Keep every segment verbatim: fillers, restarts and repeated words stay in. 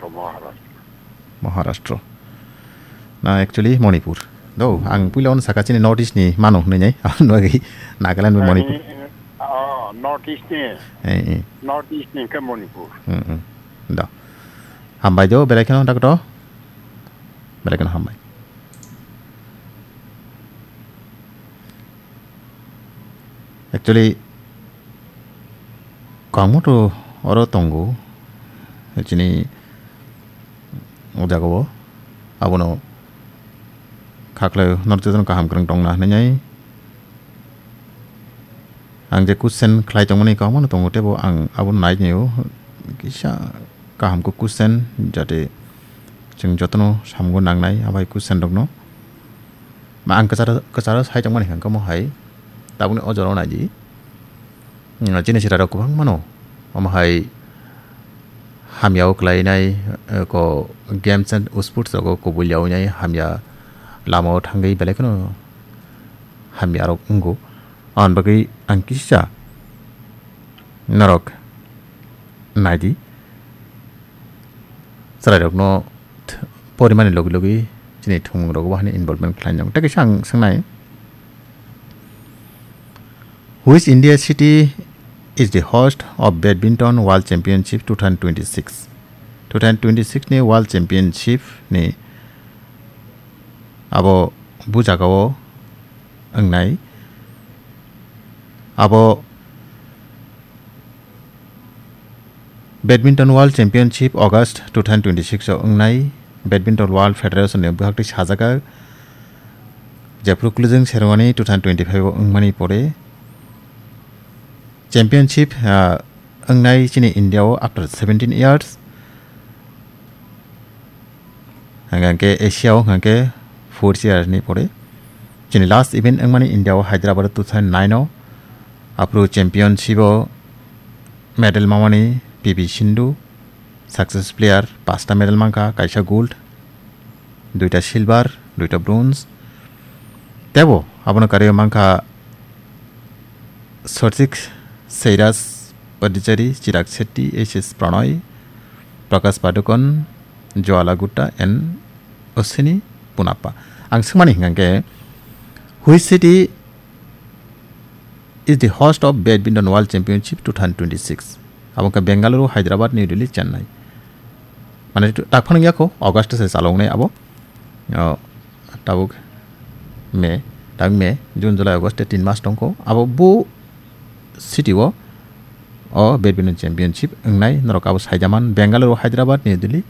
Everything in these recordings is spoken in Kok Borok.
Maharashtra. Maharashtra. Na, actually, Manipur. Do, ang puila ono saka chini North East ni mano hwnwi nai. Ano agi Nagaland bai Manipur. Eh, oh, North East ni. Eh, eh. North East ni ke Manipur. Hmm, hmm. Do. Hambai do, belai kheno, doctor. Belai kheno hambai. Actually, kwbangma to oro tongo, chini o jagao, abono khaklai norok jotono kaham kwrwng tongna hinwi ang je question khlai tongmani kwbangma no tongo, teibo ang abono nai nio kisa kaham khe question, jate chwng jotono samungo nangnai abai question rokno. Ma ang kwcharo, kwcharo sai tongmani hwnkhe omo hai tabukni o jorao naidi. Mm, chini chwrairok kwbangmano omo hai hamyao kwlainai, eh, ko games and sports rogo kubui yaui nai hamya lamao thangwi belai kheno hamyarok wngo. Aboni bagwi ang kisa norok naidi. Chwrairokno th-, porimani logi logi chini thwngmungrogo bo hani involvement khlai nang. Tei kaisa ang swngnai, which India city is the host of Badminton World Championship two thousand twenty-six? Two thousand twenty-six ni World Championship ni abo bu jagao wngnai. Abo Badminton World Championship August two thousand twenty-six o wngnai. Badminton World Federation ni bwkhaktwi sajagak, jephru kwlwjwng serwani two thousand twenty-five o wngmani pore championship, ah, wngnai chini India o after seventeen years. Hingkha khe Asia o hingkha khe four years ni pore. Chini last event wngmani India o Hyderabad o two thousand nine o. Aphuru championship o medal mamani P V Sindhu, success player, pasta medal mankha, kaisa gold, duita silver, duita bronze. Tebo abono karwi mankha Sarthik Sairaj Paddachari, Chirag Shetty, S S Pranay, Prakash Padukone, Jwala Gutta and Ashwini Ponappa. Ang swngmani hingkha khe, which city is the host of Badminton World Championship two thousand twenty-six? Abo wngkha Bengaluru, Hyderabad, New Delhi, Chennai. Mane, tak phano wngya kho, August se chaloknai abo. O, tabuk May, tabuk May, June, July, August, tin mas tongkho. Abo bo city o, o badminton championship wngnai, norok abo saijaman, Bengaluru, Hyderabad, New Delhi,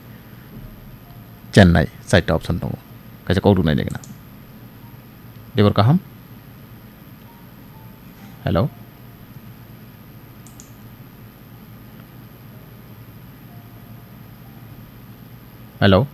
Chennai, chaita option tongo. Kaisa kok rwnai nai gana. Debor kaham? Hello? Hello?